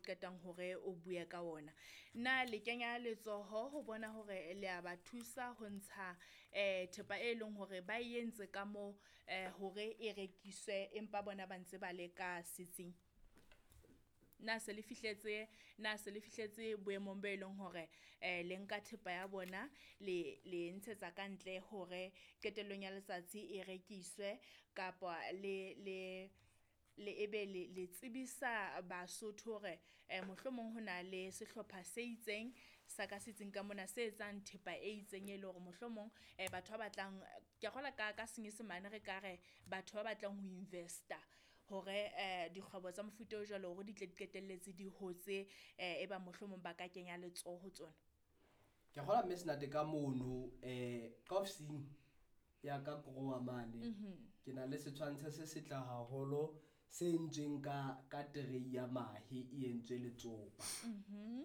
qetang hore o bue ka ona. Na le kenya letsoho ho bona hore le a ba thusa ho ntsha thepa e leng hore ba e entse ka moo hore e rekiswe empa bona ba ntse ba le ka setsing? Na se le fihletse, na se le fihletse boemong bo e leng hore le nka thepa ya bona le le ntshetsa ka ntle hore qetellong ya letsatsi e rekiswe kapa le le ebe le le tsebisa Basotho hore mohlomong ho na le sehlopha se itseng sa ka setsing ka mona se etsang thepa e itseng e le hore mohlomong batho ba batlang, ke a kgolwa ka senyesemane re ka re batho ba batlang ho invest-a hore dikgwebo tsa mofuta o jwalo hore di tle di qetelletse di hotse e ba mohlomong ba ka kenya letsoho ho tsona. Ke kgolwa mme Senate ka mono ka ofising ya ka Krowa mane, ke na le setshwantsho se setle haholo se entsweng ka tray ya mahe e entswe letsopa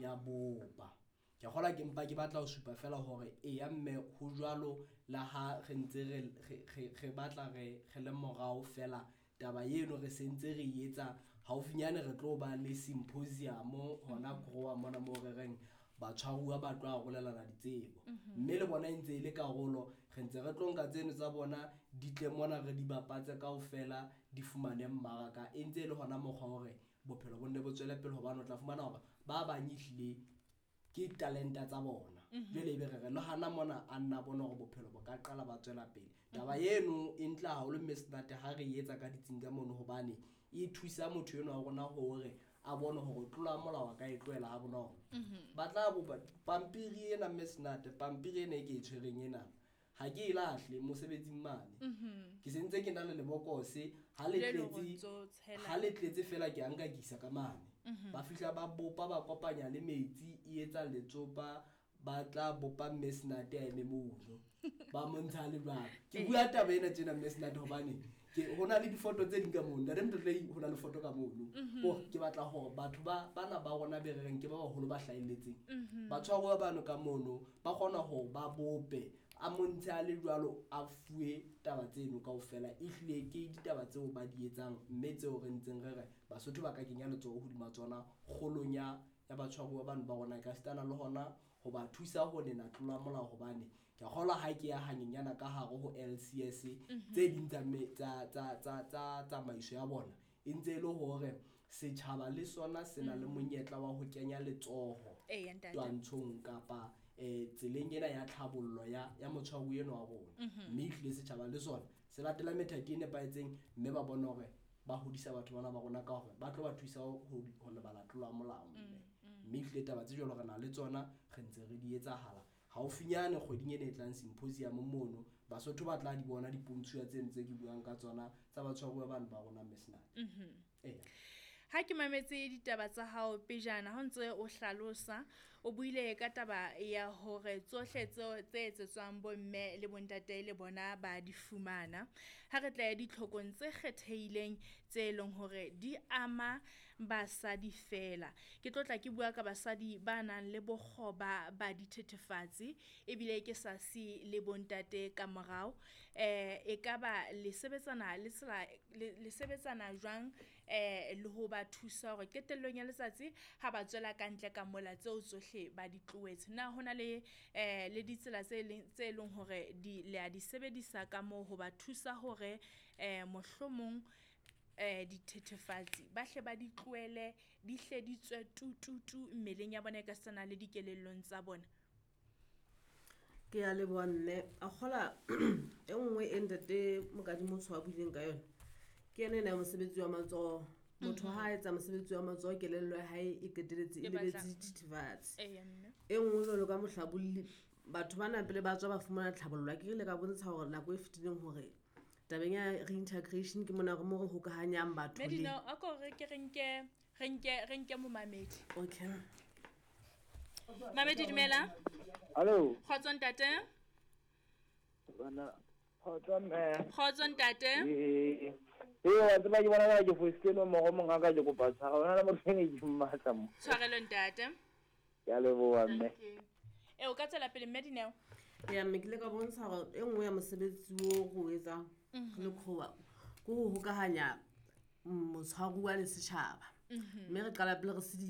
ya bopa. Ke kgolwa ke mpa ke batla ho supa fela hore eya mme ho jwalo le ha re ntse re batla re le morao fela taba eno re sentse re etsa haufinyane re tlo ba le symposium hona Krowa mona moo re reng batshwaruwa ba tlo arolelana ditsebo. Mme le bona e ntse e le karolo, re ntse re tlo nka tseno tsa bona di tle mona re di bapatse kaofela di fumane mmaraka. E ntse e le hona mokgwa hore bophelo bo nne bo tswele pele hobane o tla fumana hore ba bang ehlile ke talenta tsa bona. Jwale ebe re re le hana mona a nna bona hore bophelo bo ka qala ba tswela pele. Taba eno e ntle haholo mme Senate ha re etsa ka ditsing ka mono hobane e thusa motho enwa wa rona hore a bone hore tlolo ya molao a ka e tlohela ha bonolo. Ba tla bopa pampiri ena mme Senate, pampiri ena e ke e tshwereng ena ha ke e lahle mosebetsing mane. Ke sentse ke na le lebokose ha le tletse, ha le tletse fela ke a nka ke isa ka mane. Ba fihla ba bopa ba kopanya le metsi e etsa letsopa, ba tla bopa mme Senate a eme mono. Ba montsha le jwalo. Ke bua taba ena tjena mme Senate hobane ke hona le difoto tse ding ka mono. Ntate Motlotlei ho na le foto ka mono. Ke batla hore batho ba bana ba rona be re reng ke ba baholo ba hlahelletseng. Batshwaruwa bano ka mono ba kgona hore ba bope a montshe a le jwalo a fuwe taba tseno kaofela. Ehlile ke ditaba tseo ba di etsang mme tseo re ntseng re re Basotho ba ka kenya letsoho hodima tsona kgolong ya batshwaruwa bano ba rona ka sitana le hona ho ba thusa ho nena tlolo ya molao hobane ke kgolwa ha ke ya hanyenyana ka hare ho LCS tse ding tsa tsamaiso ya bona e ntse e le hore setjhaba le sona se na le monyetla wa ho kenya letsoho twantshong kapa tseleng ena ya tlhabollo ya motshwaruwa enwa wa rona. Mme ehlile setjhaba le sona se latela methati e nepahetseng mme ba bone hore ba hodisa batho bana ba rona ka hore ba tlo ba thusa ho lebala tlolo ya molao mme. Mme ehlile taba tse jwalo re na le tsona re ntse re di etsahala. Haufinyane kgweding ena e tlang symposium mono Basotho ba tla di bona dipontshuwa tseno tse ke buang ka tsona tsa batshwaruwa bano ba rona mme Senate. Ha ke mametse ditaba tsa hao pejana ha o ntse o hlalosa o buile ka taba ya hore tsohle tseo tse etsetswang bomme le bontate le bona ba di fumana. Ha re tla ya ditlhokong tse kgethehileng tse leng hore di ama basadi fela. Ke tlo tla ke bua ka basadi ba nang le bokgoba ba dithethefatsi ebile ke sa si le bontate ka morao. E ka ba le sebetsana le tsela le sebetsana jwang le ho ba thusa hore qetellong ya letsatsi ha ba tswela ka ntle ka mola tseo tsohle ba di tlohetse. Na hona le le ditsela tse leng hore di le a di sebedisa ka moo ho ba thusa hore mohlomong dithethefatsi ba hle ba di tlohele di hle di tswe tu tu tu mmeleng ya bona e ka setsana le dikelellong tsa bona? Ke a leboha mme. A kgola e nngwe e ntate Mokadimotsho a buileng ka yona ke ena ena ya mosebetsi wa matsoho. Motho ha a etsa mosebetsi wa matsoho kelello ya hae e qeteletse e lebetse dithethefatsi. E nngwe jwalo ka mohlabolli batho bana pele ba tswa ba fumana tlhabollo. Ke ile ka bontsha hore nako e fetileng hore tabeng ya reintegration ke mona mo re hokahanyang batho le Medina, a ko re ke re nke momamedi. Okay. Mamedi dumela. Hello. Kgotso ntate. Bana kgotso mme. Kgotso ntate. Wa tseba ke bona ke fositse nomoro mongaka ke kopa tshwarelo. Hona le motho e ne ke mmatla mo. Tshwarelo ntate. Ke a leboha mme. O ka tswela pele mme Dineo. Ya mme ke ile ka bontsha hore e nngwe ya mosebetsi o re o etsang re le Krowa ke ho hokahanya motshwaruwa le setjhaba. Mme re qala pele re sedile